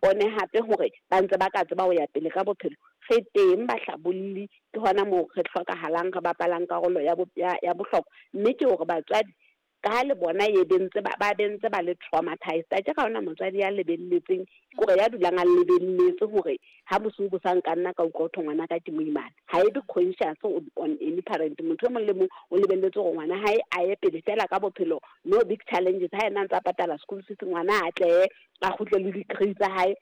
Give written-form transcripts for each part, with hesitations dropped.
ipone hape hore ba ntse ba ka tseba ho ya pele ka bophelo, re teng bahlabolli, ke hona moo re hlokahalang, re bapalang karolo ya ya bohlokwa. Mme ke hore batswadi ka ha le bona ye bentse ba ba bentse ba le traumatized, a ke ga ona motswadi ya lebelletseng kore ya dulang a lebelletse hore ha bosiu bo sa nka nna ka utlwa ho ngwana ka ke moimana. Ha e be conscious on any parent. Motho e mong le mong o lebelletse hore ngwana hae a ye pele fela ka bophelo, no big challenges. Ha ena a ntse a patala school fees, ngwana a tlehe a kgutle le degree tsa hae,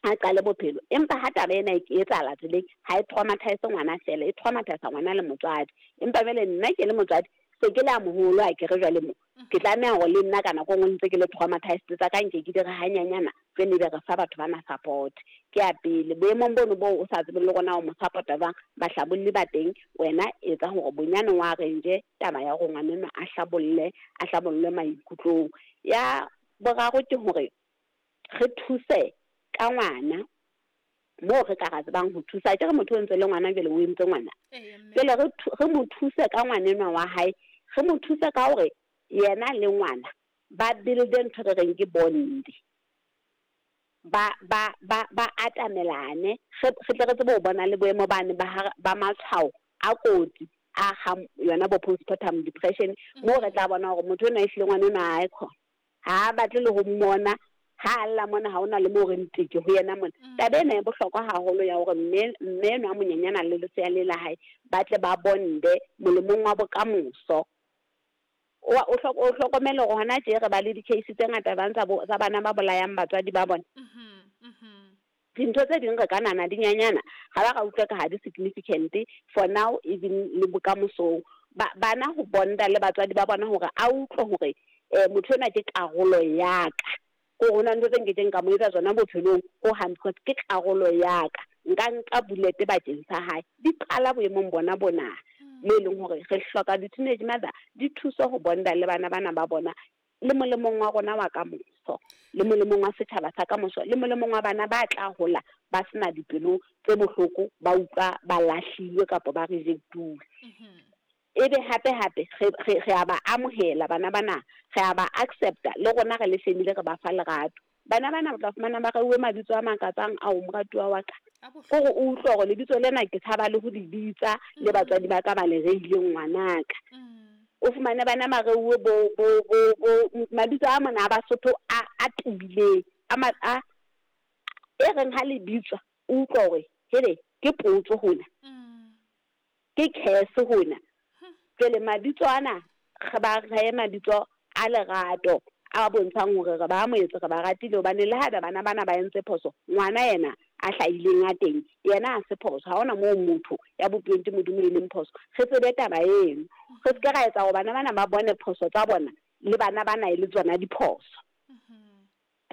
a qale bophelo. Empa ha taba ena e etsahala tseleng, ha e traumatize ngwana fela, e traumatize ngwana le motswadi. Empa jwale nna ke le motswadi, se ke le a moholo, a ke re jwale mo ke tlameha hore le nna ka nako e nngwe ntse ke le traumatized, tsa ka nke ke di re hanyanyana, jwale ebe re fa batho bana support. Ke ya pele boemong bono boo o sa tsebeng le rona o mo support-a jwang, bahlabolli ba teng. Wena etsa hore bonyane wa arrange taba ya hore ngwanenwa a hlabolle, a hlabollwe maikutlong. Ya boraro ke hore re thuse ka ngwana moo re ka ra tsebang ho thusa. Ke re motho o ntse le ngwana, jwale o entse ngwana, jwale re mo thuse ka ngwanenwa wa hae. Re mo thuse ka hore yena le ngwana ba build-e ntho re reng ke bond, ba atamelane, re tle re tsebe ho bona le boemo bane ba ba matshwao a kotsi a ga yona bo postpartum depression, moo re tla bona hore motho enwa ehlile ngwana enwa ha e khona, ha a batle le ho mmona, ha a lla mona ha ona le moo re nteke ho yena mona. Taba ena e bohlokwa haholo ya hore mme enwa a monyenyana le lesea le la hae ba tle ba bonde molemong wa bokamoso. O hlokomele hore hona tje re ba le di-case tse ngata bang tsa bana ba bolayang batswadi ba bona. Dintho tse ding re ka nahana di nyanyana, ga ba ra utlwa ka ha di significant for now, even le bokamosong. Bana ho bonda le batswadi ba bona, hore a utlwe hore motho enwa ke karolo ya ka, ko ho na ntho tse nkekeng ka mo etsa tsona bophelong ho hang, because ke karolo ya ka, nka nka bullet bakeng sa hae. Di qala boemong bona bona mo e leng hore re hloka di-teenage mother di thuse ho bonda le bana bana ba bona, le molemong wa rona wa kamoso, le molemong wa setjhaba sa kamoso, le molemong wa bana ba tla hola ba sena dipelo tse bohloko, ba utlwa ba lahlilwe kapa ba reject-uwe. Ebe hape hape re a ba amohela bana bana, re a ba accept-a le rona re le family, re ba fa lerato. Bana bana o tla fumana ba reuwe mabitso a makatsang ao, moratuwa wa ka, kore o utlwe hore lebitso lena ke tshaba le ho le bitsa, le batswadi ba ka ba le reileng ngwanaka. O fumane bana ba reuwe bo mabitso a mona a Basotho a tibileng, a e reng ha le bitswa o utlwa hore hele, ke potso hona, ke curse hona. Jwale mabitso ana re ba rehe mabitso a lerato a bontshang hore re ba amohetse, re ba ratile, hobane le haeba bana bana ba entse phoso, ngwana yena a hlahileng a teng yena a se phoso. Ha hona moo motho ya bopilweng ke Modimo e leng phoso. Re tsebe taba eno, re se ke ra etsa hore bana bana ba bone phoso tsa bona le bana bana e le tsona diphoso.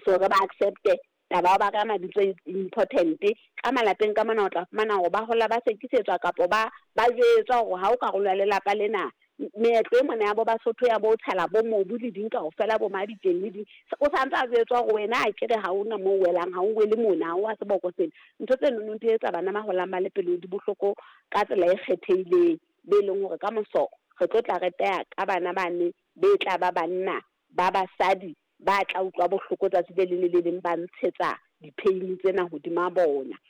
So re ba accept-e. Taba ya ba ka mabitso e important ka malapeng ka mona. O tla fumana hore ba hola ba sekisetswa kapa ba jwetswa hore ha o karolo ya lelapa lena. Meetlo e mona ya bo Basotho ya bo tshela bo mobu le ding kaofela, bo mabitleng le ding, o santse a jwetswa hore wena a kere ha ona moo welang, ha o wele mona, ha o wa seboko sena. Ntho tse nono di etsa bana ba holang ba le pelo di bohloko ka tsela e kgethehileng, be leng hore ka moso re tlo tla re teya ka bana bane be tla ba banna ba basadi ba tla utlwa bohloko tsatsi le leng le le leng, ba ntshetsa di-pain tsena hodima bona.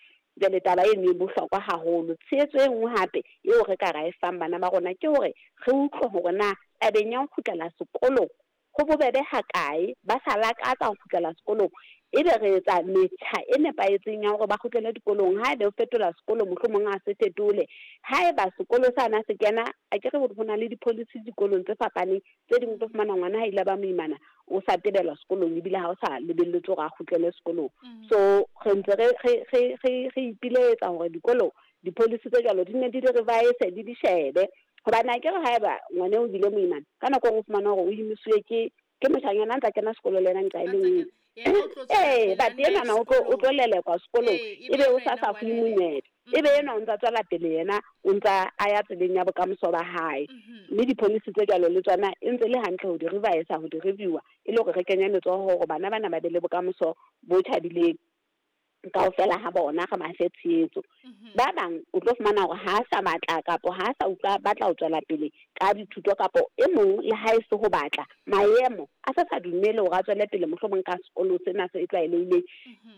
Jwale taba eno e bohlokwa haholo. Tshehetso e nngwe hape eo re ka ra e fang bana ba rona ke hore re utlwe hore na tabeng ya ho kgutlela sekolong ho bobebe hakae, ba sa lakatsa ho kgutlela sekolong, ebe re etsa metjha e nepahetseng ya hore ba kgutlele dikolong. Haebe o fetola sekolo, mohlomong a se fetole. Haeba sekolo sana se kena, a ke re ho na le di-policy dikolong tse fapaneng tse ding, o tlo fumana ngwana ha ile ba moimana o sa tebelwa sekolong, ebile ha o sa lebelletswe hore a kgutlele sekolong. So re ntse re ipiletsa hore dikolo di-policy tse jwalo di ne di di revise, di di shebe, hobane a ke re haeba ngwana o bile moimana, ka nako e nngwe o fumana hore o imisiwe ke moshanyana a ntsa kena sekolo le yena nqa e le nngwe. Ee, but enwana o tlo lelekwa sekolong, ebe o sa fuwe monyetla, ebe enwa o ntsa tswela pele, yena o ntsa a ya tseleng ya bokamoso ba hae. Mme di-policy tse jwalo le tsona e ntse le hantle ho di revise, ho di review-a, e le hore re kenye letsoho hore bana bana ba be le bokamoso bo thabileng kaofela ha bona, re ba fe tshehetso. Ba bang o tlo fumana hore ha a sa batla kapo ha a sa utlwa batla ho tswela pele ka dithuto, kapo e mong le ha e se ho batla, maemo a sa dumele hore a tswele pele mohlomong ka sekolo sena se tlwaelehileng.